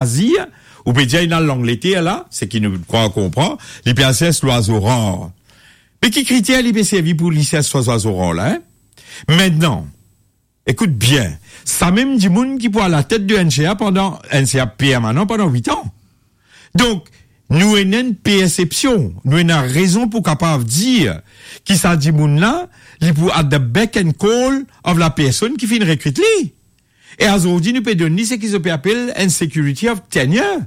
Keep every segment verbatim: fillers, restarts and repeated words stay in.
Azir, ou pe dir ena Langleter la, seki nou krwar konpran, li pe al sers lwazo rar. Me ki kriter li pe servi pou li sers lwazo rar la, en? Aster, ekout bien, samem dimoun ki pou alatet de N C A pandan, N C A permanan pandan wit an. Donk, nou ena enn persepsion, nou ena rezon pou kapav dir ki sa dimoun la, li pou at the beck and call of lapersonn ki finn rekrit li. E azordi, nou pe donn li seki zot pe apel enn security of tenure.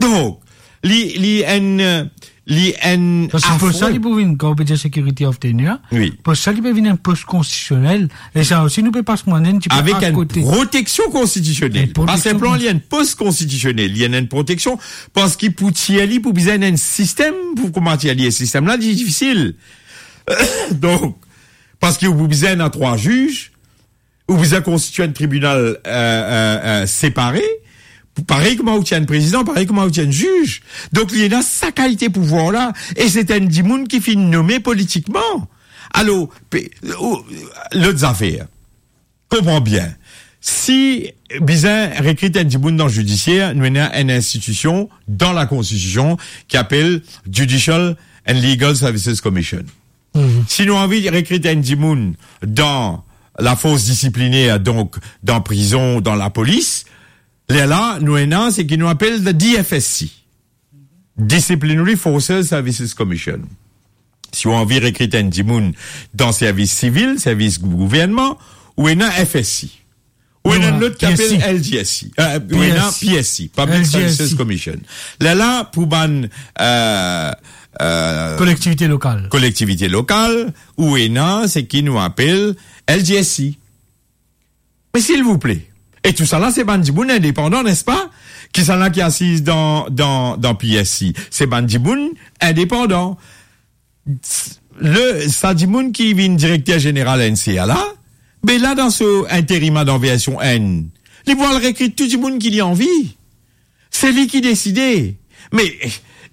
Donk, li, li enn, li enn... Parski pos sa afron. Li pou vinn, kan ou pe dir security of tenure, wi, pos sa li pe vinn enn pos konstitisionel. E sa osi, nou pe pas mwayen enn tipe akote. Avek enn proteksion konstitisionel. Enn proteksion konstitisionel. Pa sinpleman li enn pos konstitisionel, li enn, enn proteksion, parski pou tir li, pou bizin enn sistem, pou koumadir li, e sistem la, li difisil. Donk, parski ou pou bizin ena trwa ziz, ou bizin konstitye enn tribinal, euh, euh, euh, separe, parey kouma ou ti enn prezidan, parey kouma ou ti enn ziz. Donk, li ena sa kalite pouvwar la, e se enn dimoun ki finn nome politikman. Alor, pe-, ou, lot zafer, konpran bien. Si bizin rekrit enn dimoun dan zidisier, nou ena enn institision dan lakonstitision ki apel Judicial and Legal Services Commission. Mhm. Si nou anvi rekrit enn dimoun dan lafors disipliner, donk dan prizon, dan lapolis, lerla nou ena seki nou apel the D F S C, Disciplinary Forces Services Commission. Si ou anvi rekrit enn dimoun dan servis sivil, servis gou-, gouvernman, ou ena F S C. Ou ena lot ki apel L G S C. Euh, ou ena P S C, Public Services Commission. Lerla, pou bann, euh, euh, kolektivite lokal. Kolektivite lokal, ou ena seki nou apel L G S C. Me silvouple, e tousala se bann dimoun indepandan, nespa? Kisannla ki asiz dan, dan, dan P S C? Se bann dimoun indepandan. Le, sa dimoun ki vinn direkter zeneral N C A la, be la dan so interim la dan version enn, li pou al rekrit tou dimoun ki li anvi. Se li ki deside. Me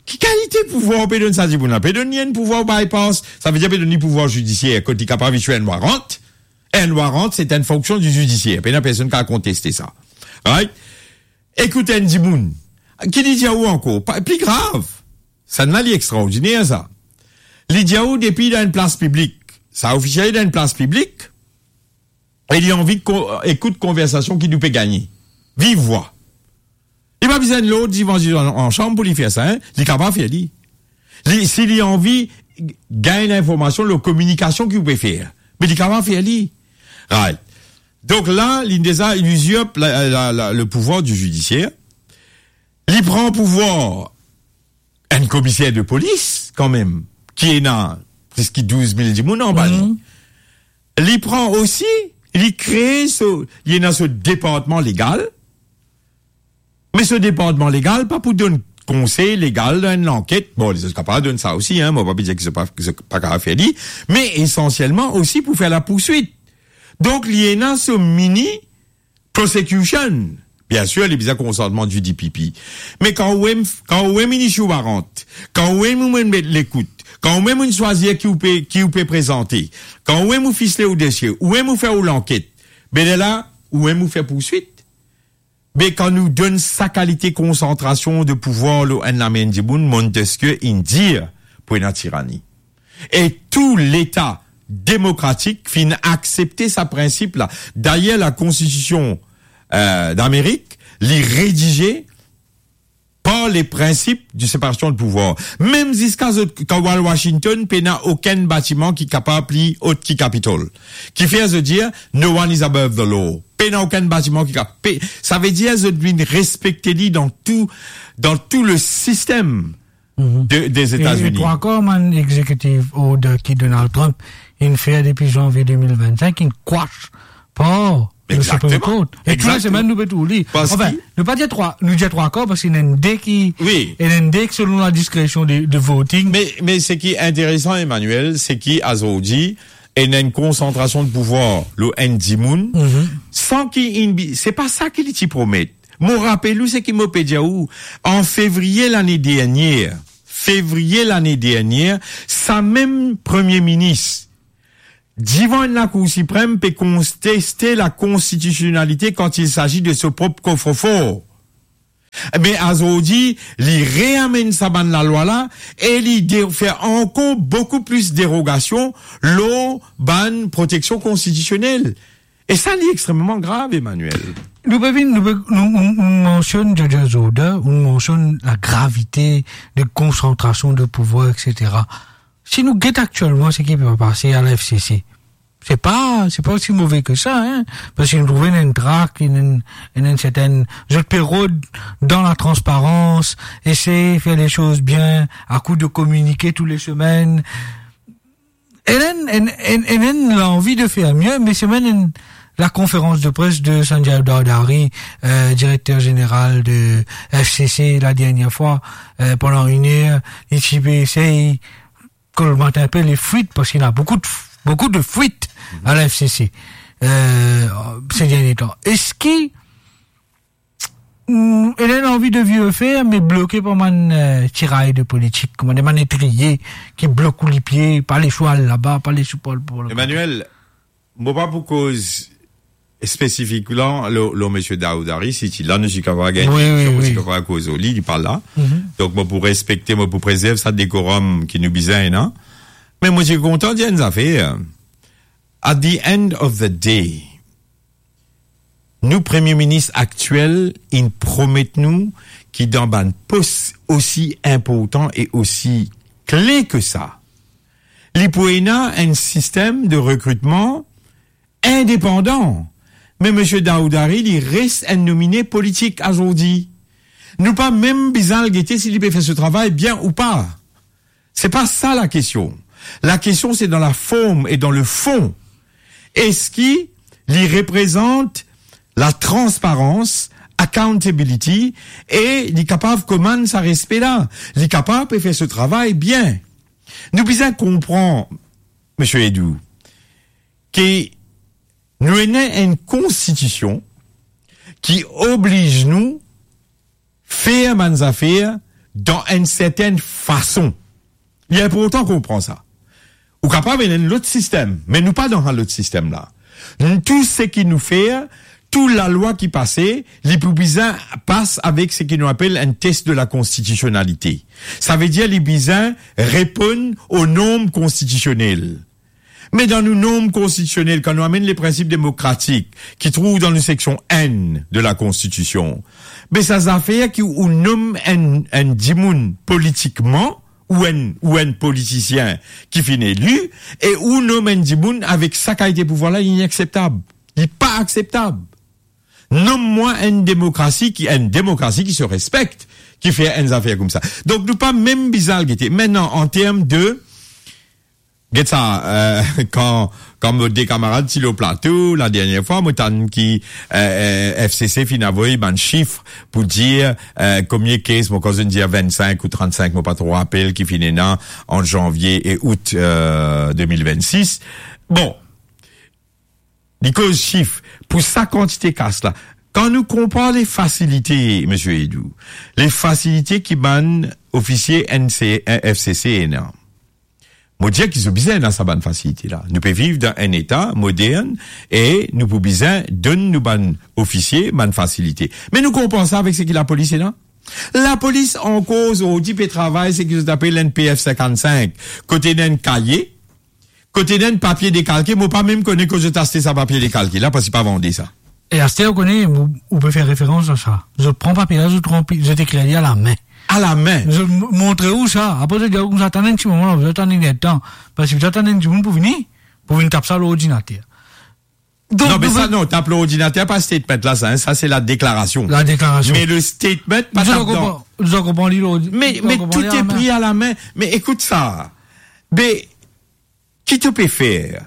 ki kalite pouvwar pe donn sa dimoun la? Pe donn li enn pouvwar bypass, savedir pe donn li pouvwar zidisier, kot li kapav isye enn warant. Enn warant, se enn fonksion di zidisier. Pena personn kapav konteste sa. Right? Ekout enn dimoun. Ki li dir ou ankor? Pa, pli grav. Sannla li extraordiner sa. Li dir ou depi dan enn plas piblik, sa ofisiel dan enn plas piblik, e li anvi ko-, ekout konversasion ki nou pe gagne. Viv vwa. Li pa bizin lord divan zis an, an sanm pou li fer sa, en. Li kapav fer li. Li, si li anvi gagn linformasion lor kominikasion ki ou pe fer, me li kapav fer li. Right. Donk la, li deza, li uzirp la, la, la, le pouvwar di zidisier. Li pran pouvwar enn komiser de polis, kanmem, ki ena plis ki douz mil dimoun anba li. Mhm. Li pran osi, li kree so, li ena so departman legal, me so departman legal pa pou donn konsey legal dan enn lanket. Bon, lezot kapav donn sa osi, en, mo pa pe dir ki zot pa, ki zot pa kapav fer li, me esansielman osi pou fer lapouswit. Donk, li ena so mini prosecution. Biensir, li bizin konsantman di D P P. Me kan ou mem, kan ou mem inn isi ou warant, kan ou mem ou mem met lekout, kan ou mem ou swazir ki ou pe, ki ou pe prezante, kan ou mem ou fisle ou dosie, ou mem ou fer ou lanket, be lerla, ou mem ou fer pouswit. Be kan nou donn sa kalite konsantrasion de pouvwar lor enn lame enn dimoun, Montesquieu inn dir pou ena tirani. E tou leta demokratik finn aksepte sa prinsip la. Dayer, lakonstitision, euh, Damerik, li redize par le principe de séparation de pouvoir. Mem ziska zot, kan ou al Washington, pena okenn batiman ki kapav pli ot ki Capitol. Kifer zot dir, "No one is above the law." Pena okenn batiman ki ka-, pe-, savedir zot vinn respekte li dan tou, dan tou le sistem Mhm. de, des États-Unis. E, e trwa kar bann executive order ki Donald Trump inn fer depi zanvie de mil vennsenk, inn kwash par le Supreme Court. Exactement. E tou le semenn nou pe trouv li. Anfin, nou pa dir trwa, nou dir trwa kar parski ena enn de ki, wi, ena enn de ki selon ladiskresion de, de voting. Me, me seki interesan, Emmanuel, seki azordi, ena enn konsantrasion de pouvwar lor enn dimoun, mhm, san ki inn bi-, se pa sa ki li ti promet. Mo rapel ou seki mo pe dir ou, an fevriye lane dernie, fevriye lane dernie, samem Premie Minis, divan enn Lakour Siprem, pe konteste lakonstitisionalite kan il s'agit de so prop kofrefor. Me azordi, li reamenn sa bann lalwa la e li de-, fer ankor boukou plis derogasion lor bann proteksion konstitisionel. E sa, li extrememan grav, Emmanuel. Nou pe vinn, nou pe, nou, nou, nou mansionn Georges Jourdain, nou mansionn la gravite de konsantrasion de pouvwar, et cetera. Si nou get aktielman seki pe pase a la F C C, se pa, se pa osi move ke sa, hein, parski nou trouve ena enn trak, ena enn, ena enn sertenn, zot pe rod dan la transparans, esey fer le soz bien, a kou de kominike tou le semenn. Ena enn, enn, enn, ena enn lanvi de fer mie, me semenn, enn, la konferans de pres de Sanjay Dardari, euh, direkter zeneral de F C C, la dernie fwa, euh, pandan enn er, li ti pe esey kolmat enpe le fwit, parski ena boukou de, boukou de fwit a la F C C, euh, se dernie tan. Eski, mm, ena enn lanvi de vie fer, me bloke par bann, euh, tiray de politik, kouma dir, bann etriye ki blok ou lipie, pa les ou al laba, pa les ou pa al pou... Emmanuel, mo pa pou koz spesifik la, lor, lor misie Dardari, si ti la, nou ti kapav gagn, wi, wi, nou ti kapav koz lor li, li pa la. Donk, mo pou respekte, mo pou prezerv sa dekorom ki nou bizin ena. Me mo ti kontan dir enn zafer. At the end of the day, nou Premie Minis aktiel, inn promet nou ki dan bann pos osi inportan e osi kle ke sa, li pou ena enn sistem de rekritman indepandan. Me misie Dardari, li res enn nomine politik azordi. Nou pa mem bizin al gete si li pe fer so travay bien ou pa. Se pa sa lakestion. Lakestion, se dan laform e dan lefon. Eski li reprezant latransparans, accountability, e li kapav komann sa respe la? Li kapav pe fer so travay bien? Nou bizin konpran, misie Eddou, ki nou ena enn konstitision ki obliz nou fer bann zafer dan enn sertenn fason. Li inportan konpran sa. Ou kapav ena enn lot sistem, me nou pa dan sa lot sistem la. Tou seki nou fer, tou lalwa ki pase, li pou bizin pas avek seki nou apel enn test de la konstitisionalite. Savedir li bizin reponn o norm konstitisionel. Me dan nou norm konstitisionel, kan nou amenn le prinsip demokratik ki trouv dan nou seksion enn de la Konstitision, be sa zafer ki ou nom enn, enn dimoun politikman, ou enn, ou enn politisien ki finn eli, e ou nom enn dimoun avek sa kalite pouvwar la, li inakseptab. Li pa akseptab. Nom mwa enn demokrasi ki, enn demokrasi ki se respekte, ki fer enn zafer koumsa. Donk, nou pa mem bizin al gete. Aster, an term de, get sa, euh, kan, kan mo de kamarad ti lor plato, ladernie fwa, mo tann ki, euh, euh, F C C finn avoy bann sif pou dir, euh, konbien kes, mo krwar zot inn dir vennsenk ou trannsink, mo pa tro rapel, ki finn ena ant zanvie e out, euh, de mil vennsis. Bon, li koz sif pou sa kantite kas la. Kan nou konpar le fasilite, misie Eddou, le fasilite ki bann ofisie N C, F C C ena, mo dir ki zot bizin ena sa bann fasilite la. Nou pe viv dan enn eta modern e nou pou bizin donn nou bann ofisie bann fasilite. Me nou konpar sa avek seki lapolis ena? Lapolis ankor zordi pe travay seki zot apel enn P F sinkannsenk, kot ena enn kaye, kot ena enn papie dekalke, mo pa mem kone kot zot aste sa papie dekalke la, parski pa vande sa. E aster, ou kone, ou, ou pe fer referans a sa. Zot pran papie la, zot ranpli, zot ekrir li alame. Alame. Zot m-, montre ou sa. Apre, zot dir ou koumsa, atann enn ti moman, zot atann enn letan. Parski zot atann enn dimoun pou vini, pou vinn tap sa lor ordinater. Donk, non, me nou sa, non, tap lor ordinater, pa statement la, sa, hein, sa, se la deklarasion. La deklarasion. Me le statement, pa tap dan. Zot konpran, zot konpran li lor ordi-, me, zot konpran li alame. Me tout est pris à la main. Me ekout sa. Be, ki to pe fer?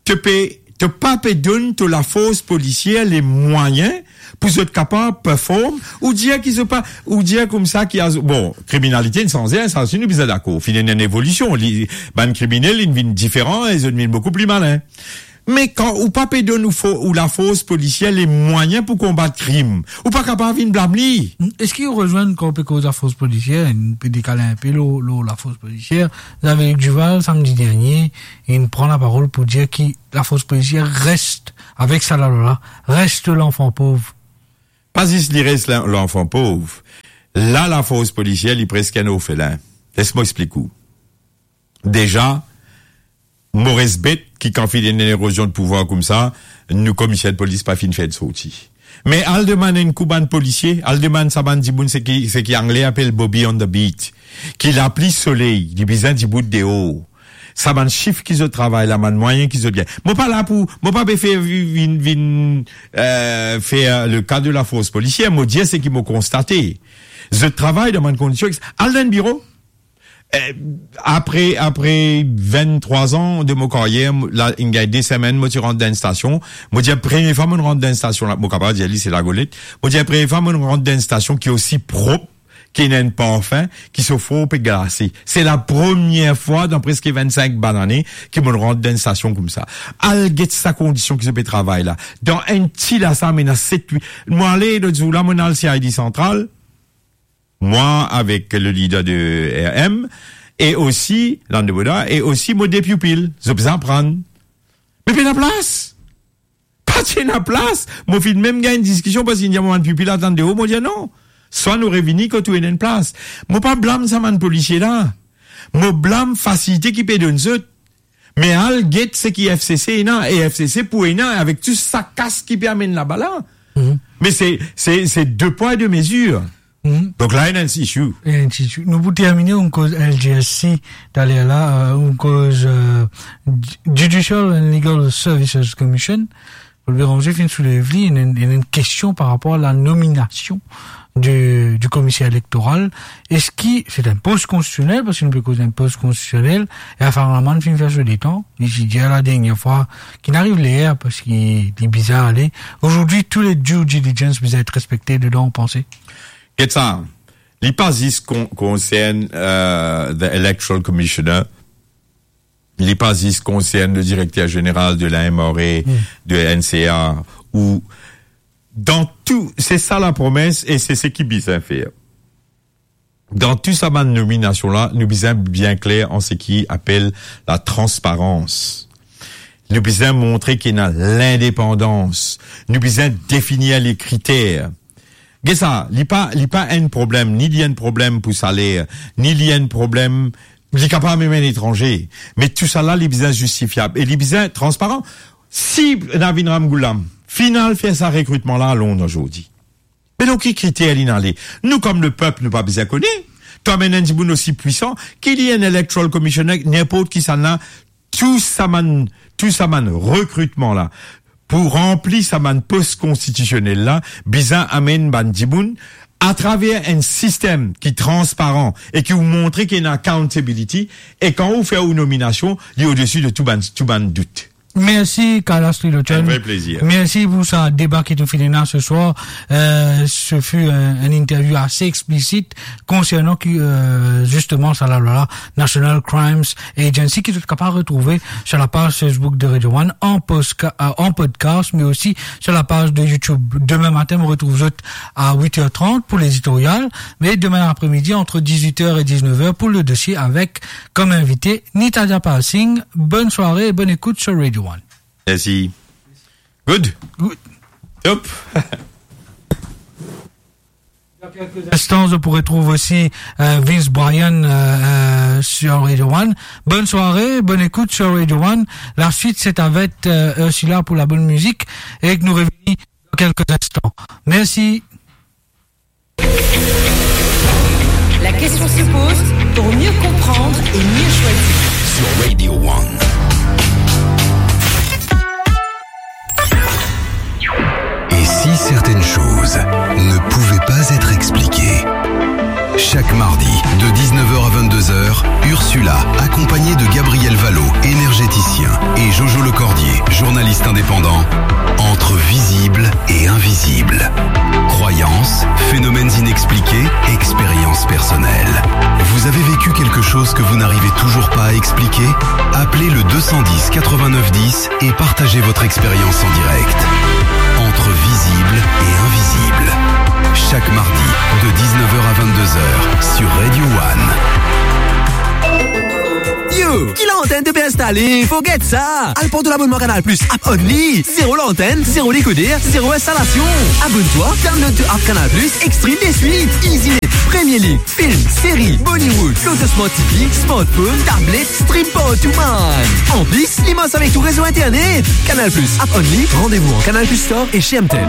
To pe, to pa pe donn to lafors polisier le mwayin pou zot kapav perform, ou dir ki zot pa, ou dir koumsa ki a, bon, kriminalite inn sanze, sa osi nou bizin dakor. Finn ena enn evolision, li, bann kriminel, inn vinn diferan e zot vinn boukou pli malin. Me kan ou pa pe donn ou fo-, ou lafors polisier le mwayin pou konbat krim, ou pa kapav vinn blam li. Eski ou rezwenn kan ou pe koz lafors polisier, nou pe dekale inpe lor, lor lafors polisier, Xavier Duval, samdi dernie, inn pran laparol pou dir ki lafors polisier res avek sa lalwa la, res lanfan pov. Pa zis li res la-, lanfan pov. La, lafors polisier, li preske enn orfelin. Les mo explik ou. Deza, mo res bet ki kan finn ena enn erozion de pouvwar koumsa, nou komiser de polis pa finn fer sorti. Me al demann enn kou bann polisie, al demann sa bann dimoun seki, seki Angle apel Bobby on the beat, ki lapli soley, li bizin dibout deor. Sa bann sif ki zot travay la, bann mwayin ki zot gagn. Mo pa la pou, mo pa pe fer vi-, vinn, vinn, eh, fer le ka de lafors polisier, mo dir seki mo konstate. Zot travay dan bann kondision, al dan enn biro, Eh, apre, apre vinn-trwa an de mo karyer, mo, la, inn gagn de semenn, mo ti rant dan enn stasion. Mo dir, premie fwa mo rant dan enn stasion la, mo kapav dir li se Lagolet. Mo dir, premie fwa mo rant dan enn stasion ki osi prop, ki ena enn parfin, ki so for pe glase. Se lapremier fwa dan preske vinn-sink bann ane ki mo rant dan enn stasion koumsa. Al get sa kondision ki zot pe travay la. Dan enn ti lasam, ena set, wit. Mo ale lot zour la, mo al C I D Santral. Mwa avek le lider de R M, e osi Landeboda, e osi mo de pipil, zot bizin aprann. Me pena plas. Pa ti ena plas. Mo finn mem gagn diskision parski inn dir mo bann pipil atann deor, mo dir non. Swa nou revini kot ou ena enn plas. Mo pa blam sa bann polisie la. Mo blam fasilite ki pe donn zot. Me al get seki F C C ena, e F C C pou ena, avek tou sa kas ki pe amenn laba la. Mhm. Me se, se, se de pwa e de mezir. Mhm. Donk la, ena enn issue. Ena enn issue. Nou pou termine, nou koz L G S C taler la, euh, nou koz, euh, Ju-, Judicial and Legal Services Commission. Paul Bérenger finn soulev li, ena, ena enn kestion par rapor a la nominasion du, du komiser elektoral. Eski se enn pos konstisionel, parski nou pe koz enn pos konstisionel, e Afaram Lamann finn fer so letan, li ti dir la dernie fwa ki inn ariv ler, parski li bizin ale. Aujourd'hui, tous les due diligence bizin et respekte dedan, ou panse? Get sa, li pa zis kon-, konsern, euh, the Electoral Commissioner, li pa zis konsern le direkter zeneral de la M R A, Hmm. de N C A, ou dan tou, se sa lapromes e se seki bizin fer. Dan tou sa bann nominasion la, nou bizin bien kler an seki apel la transparans. Nou bizin montre ki ena lindepandans. Nou bizin definir le kriter. Get sa, li pa, li pa enn problem, ni li enn problem pou saler, ni li enn problem, li kapav mem enn etranze. Me tou sa la, li bizin zistifiab e li bizin transparan. Si Navin Ramgoolam finn al fer sa rekritman la a Londres zordi, me dan ki kriter linn ale? Nou, kom lepep, nou pa bizin kone. To amenn enn dimoun osi pwisan ki li, enn electoral commissioner, ninport kisannla, tou sa bann, tou sa bann rekritman la, pou ranpli sa bann pos konstitisionel la, bizin amenn bann dimoun atraver enn sistem ki transparan e ki ou montre ki ena accountability, e kan ou fer ou nominasion, li odesi de tou bann, tou bann dout. Mersi, Carlos Lilloton. Un vrai plaisir. Mersi pou sa deba ki nou finn ena se swar. Euh, ce fut un, un interview assez explicite concernant ki, euh, justement, sa lalwa la, National Crimes Agency, ki zot kapav retrouve sur la page Facebook de Radio One, en posca-, euh, en podcast, mais aussi sur la page de YouTube. Demain matin, nou retrouv zot à huit heures trente pour l'éditorial, mais demain après-midi, entre dix-huit heures et dix-neuf heures, pour le dossier avec, comme invité, Nitaja Pal Singh. Bonne soirée et bonne écoute sur Radio One. Mersi. Good. Good. Top. Dans quelques instants, vous pourrez trouver aussi, euh, Vince Bryan, euh, euh, sur Radio One. Bonne soirée, bonne écoute sur Radio One. La suite, c'est avec, euh, Ursula pour la bonne musique et que nous revenons dans quelques instants. Merci. La question se pose pour mieux comprendre et mieux choisir. Sur Radio One. Et si certaines choses ne pouvaient pas être expliquées ? Chaque mardi, de dix-neuf heures à vingt-deux heures, Ursula, accompagnée de Gabriel Vallot, énergéticien, et Jojo Lecordier, journaliste indépendant, entre visible et invisible. Croyances, phénomènes inexpliqués, expériences personnelles. Vous avez vécu quelque chose que vous n'arrivez toujours pas à expliquer ? Appelez le deux cent dix quatre-vingt-neuf dix et partagez votre expérience en direct. Entre visible et invisible. Chaque mardi, de dix-neuf heures à vingt-deux heures, sur Radio One. Yo, ki lantenn to pe instale? Forget sa! Al pran to labonnman Canal Plus, app only. Zero lantenn, zero dekoder, zero instalasion. Abonn twa, download to app Canal Plus, e stream deswit. Easy net. Télé, film, série, Bollywood, Loto Smart T V, smartphone, tablette, stream partout, man. En plus, li marche avec ton réseau internet. Canal Plus, app only, rendez-vous en Canal Plus Store et chez M T L.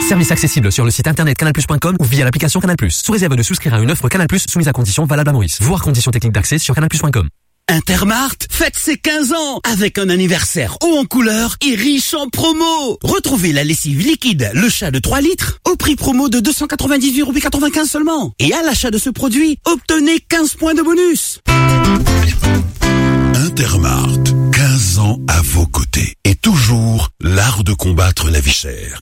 Service accessible sur le site internet canal plus point com ou via l'application Canal Plus, sous réserve de souscrire à une offre Canal Plus soumise à conditions valables à Maurice. Voir conditions techniques d'accès sur canal plus point com. Intermarthe fête ses quinze ans avec un anniversaire haut en couleur et riche en promo. Retrouvez la lessive liquide, le chat de trois litres, au prix promo de deux cent quatre-vingt-dix-huit euros quatre-vingt-quinze seulement. Et à l'achat de ce produit, obtenez quinze points de bonus. Intermarthe, quinze ans à vos côtés et toujours l'art de combattre la vie chère.